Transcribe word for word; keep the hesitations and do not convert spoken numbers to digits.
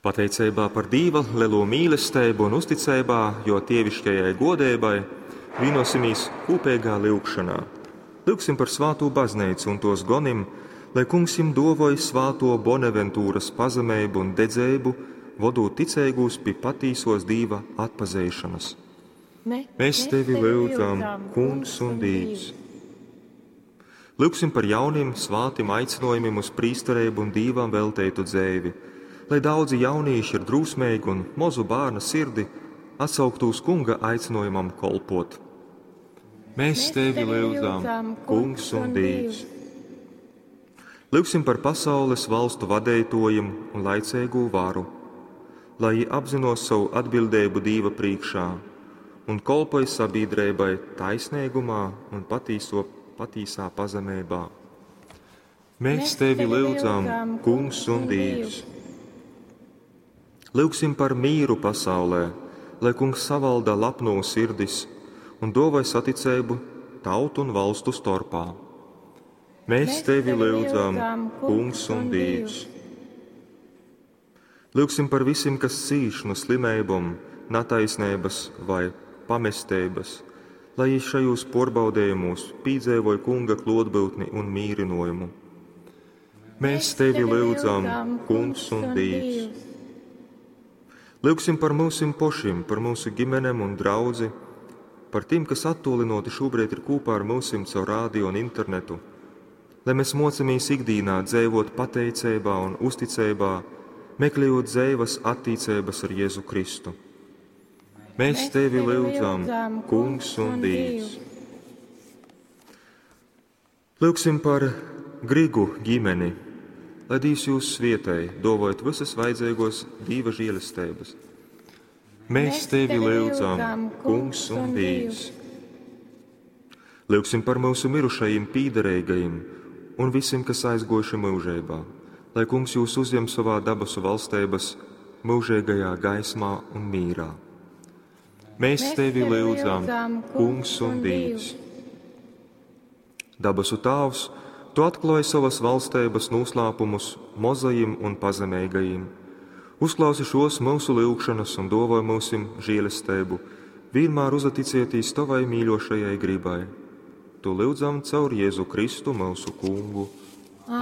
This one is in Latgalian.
Pateicībā par Dīva lelo mīlestību un uzticeibā, jo tievišķajai godeibai, vienosimies kopīgā lyugšanā. Lyugsim par svātū baznīcu un tos gonim, lai kungs jim dovoj svāto Bonaventūras pazemeibu un dedzeibu, vodūt ticeigūs pi patīsos Dīva atpazeišanas. Mēs tevi lyudzam, Kungs un Dīvs. Lyugsim par jaunim svātim aicinojumiem uz prīstereibu un Dīvam velteitu dzeivi, lai daudzi jaunīši ar drūsmeigu un mozu bērna sirdi atsauktu uz kunga aicinojumam kolpot. Mēs tevi lyudzam, Kungs un Dīvs. Lyugsim par pasaules valstu vadeitojiem un laicīgū varu, lai viņi apzinos savu atbildību Dīva priekšā un kolpoj sabiedrībai taisnīgumā un patīso, patīsā pazemībā. Mēs tevi lyudzam, Kungs un Dīvs. Lyugsim par mīru pasaulē, lai Kungs savalda lapno sirdis un dovai saticību tautu un valstu starpā. Mēs tevi lyudzam, Kungs un Dīvs. Lyugsim par visiem, kas cīš no slimībām, nataisnības vai pamestības, lai viņi šajos porbaudījumos pīdzēvoja kunga klotbūtni un mīrinojumu. Mēs tevi lyudzam, Kungs un Dīvs. Lyugsim par mūsim pošim, par mūsu ģimenēm un draudzi, par tiem, kas attolinoti šobrīd ir kopā ar mūsim caur rādio un internetu, lai mēs mocamies ikdienā dzīvot pateicībā un uzticībā, meklējot dzīves attīcības ar Jēzu Kristu. Mēs tevi lyudzam, Kungs un Dīvs. Lyugsim par Grigu ģimeni, lai Dievs jūs svietēj, dovojot visas vajadzīgos Dieva žēlestības. Mēs tevi lyudzam, Kungs un Dievs. Lyugsim par mūsu mirušajiem pīderīgajiem un visiem, kas aizgojuši mūžībā, lai Kungs jūs uzņem savā dabasu valstības mūžīgajā gaismā un mīrā. Mēs tevi lyudzam, Kungs un Dievs. Dabasu Tāvs, tu atklāji savas valstības noslēpumus mozajiem un pazemīgajiem. Uzklausi šos mūsu lyugšanas un dovoj mūsim žēlestību, vienmēr uzaticieties tavai mīļošajai gribai. Tu lyudzam caur Jēzu Kristu mūsu kungu.